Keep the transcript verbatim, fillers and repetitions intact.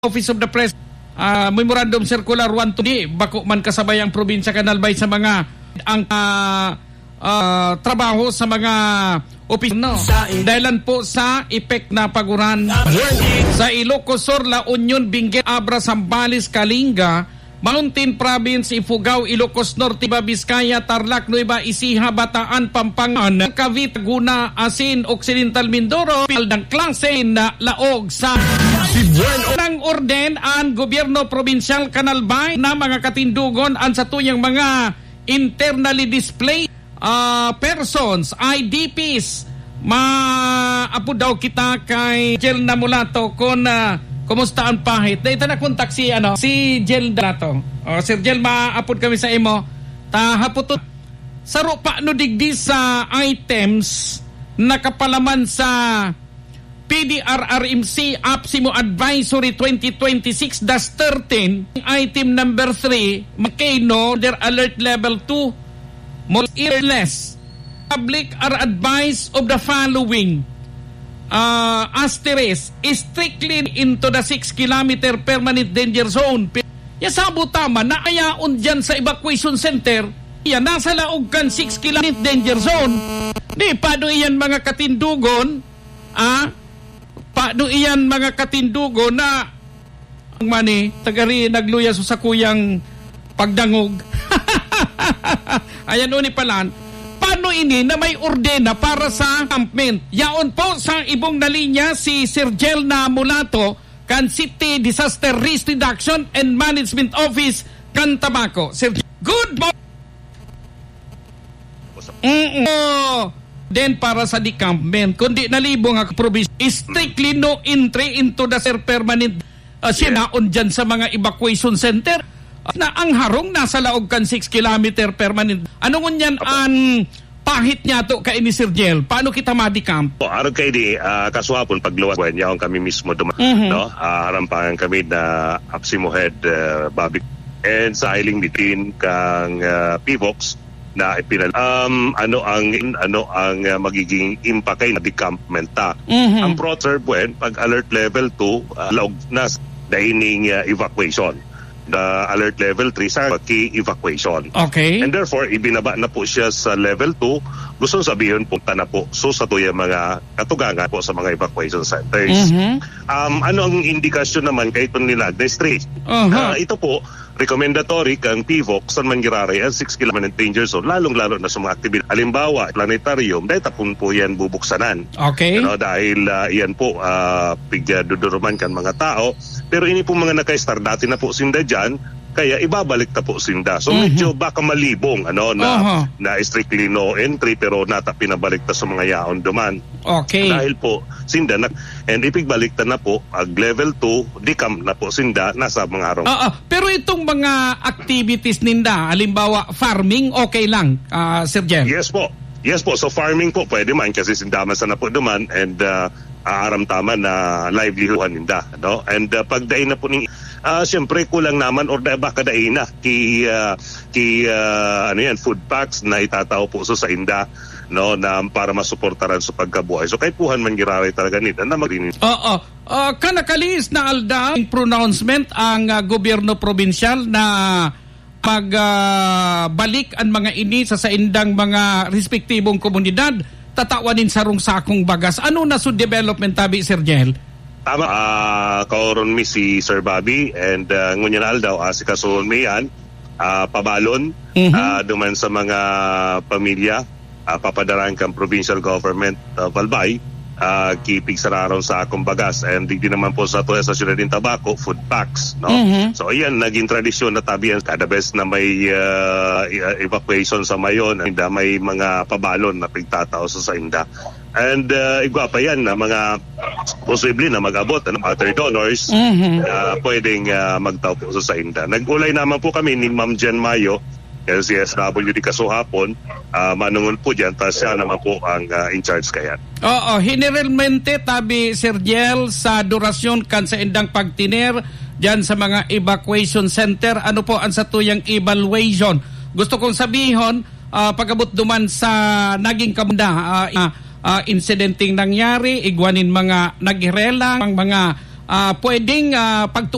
Office of the Pres-, ah, Memorandum Circular one two, di bako man kasabay ang probinsya kan Albay sa mga, ang, ah, ah, trabaho sa mga opisina. Dahilan po sa epek na paguran. Sa Ilocos Sur, La Union, Benguet, Abra, Zambales, Kalinga, Mountain Province, Ifugao, Ilocos Norte, Nueva Vizcaya, Tarlac, Nueva Ecija, Bataan, Pampanga, Cavite, Laguna, asin Occidental Mindoro, pildang klase na laog sa ng orden ang gobyerno probinsyal kan Albay na mga katindugon an satuyang mga internally displaced ah, persons, I D Ps. Maapod daw kita kay Jel Namulato kung, ah, kumusta ang pahit. Dahil ito na kontak si, ano, si Jel Namulato. O, Sir Jel, maapod kami sa imo. Ta, hapot to. Saro pa no digdi sa items nakapalaman sa P D R R M C APSIMO Advisory twenty twenty-six dash thirteen, item number three, Makeno under alert level two, more or less. Public are advised of the following, ah, asterisk, strictly into the six kilometer permanent danger zone. Ya sabo tama na ayaon dyan sa evacuation center, yan nasa laog kan six kilometer danger zone. Di pa do iyan mga katindugon, ah, Paano iyan, mga katindogon, na ang mani, tagari nagluya sa sakuyang pagdangog? Ayan, uni palan. Paano ini na may ordena para sa encampment? Yaon po sa ibong na linya si Sir Jel na Mulato, kan City Disaster Risk Reduction and Management Office kan Tabaco. Sir, good morning. Mm-mm. Then para sa decampment, kundi nalibong ang provision, strictly no entry into the, sir, permanent, ah, sinaon dyan sa mga evacuation center, ah, na ang harong nasa laog kan six kilometer permanent. Ano ngunyan ang pahit niya to kaini, Sir Jel? Paano kita madecamp? O, arog kaini, ah, kasuhapon, pagluwas, yaon kami mismo duma-, Mhm. no? Ah, harampangan kami na APSIMO head, ah, Bobby. And sa hiling bitin kang, ah, PHIVOLCS na ipinal-, um, ano ang, ano ang, ah, magiging impact kay decampment ta? Mhm. Ang pro-, sir, buen, pag alert level two, ah, laog na s-, daining, ah, evacuation. The alert level three sa ki-evacuation. Okay. And therefore, ibinaba na po siya sa level two. Gusto sabihon, punta na po. So, sa tuya mga katugangan po sa mga evacuation centers. Mhm. Um, ano ang indikasyon naman kay itong nila? District. Aha. Ah, ito po, recommendatory kang PHIVOLCS san man giraray ang six kilometer danger zone, lalong-lalo na sa mga aktibidad. Halimbawa, planetarium, dahil tapon po yan bubuksanan. Okay. Ano, dahil, ah, iyan po, ah, pigduduruman kan mga tao. Pero ini po mga naka-star, dati na po sinda dyan, kaya ibabalik ta po sinda. So, Mhm. medyo baka malibong, ano, na, Aha. na strictly no entry, pero nata pinabalik ta sa mga yaon duman. Okay. Dahil po, sinda na, and ipigbalik ta na po, ag level two, decamp na po sinda, nasa mga harong. Oo, pero itong mga activities ninda, halimbawa, farming, okay lang, ah, Sir Jen? Yes po. Yes po. So, farming po, pwede man kasi sinda man sana po duman and, ah, aaram ta man na livelihood ninda, no? And, ah, pag dai na po ning, ah, siyempre, kulang naman or da-, baka dai na ki, ah, ki, ah, ano yan, food packs na itatao po sa, sa inda, no, na para masuportaran sa pagkabuhay. So, kaipuhan man giraray talaga nila na magrin- Oo. Ah, kan nakalihis na aldaw, pronouncement ang, ah, gobyerno probinsyal na mag, ah, balik an mga ini sa saindang mga respektibong komunidad, tatawan nin sarong sakong bagas. Ano na so development tabi, Sir Jel? Tama, ah, kaoron mi si Sir Bobby and, ah, ngunyan na aldaw, asikasuhon mi yan, ah, pabalon, Mhm. ah, duman sa mga pamilya, ah, papadaraan kan provincial government of Albay, ah, ki pigsararong sakong bagas. And digdi naman po sa tuya sa siyudad nin Tabaco, food packs, no? Mhm. So, ayan, naging tradisyon na tabi yan. Kada bes na may, ah, i-, ah, evacuation sa Mayon, inda may mga pabalon na pigtatao sa sainda. And, ah, igwa pa yan na mga posible na mag-abot, ano, other donors, Mhm. ah, pwedeng, ah, magtao po sa sainda. Nag-ulay naman po kami ni Ma'am Jen Mayo, L C S W D kasuhapon, ah, manungol po dyan, ta siya naman po ang, ah, in charge kayan. Oo, generalmente, tabi, Sir Jel, sa durasyon kan saindang pagtiner dyan sa mga evacuation center, ano po ang satuyang evaluation? Gusto kong sabihon, ah, pag-abot duman sa naging kamda, ah, ah, ah, insidenteng nangyari, igwa nin mga naghirelang, ang mga, ah, pwedeng, ah, pagtu-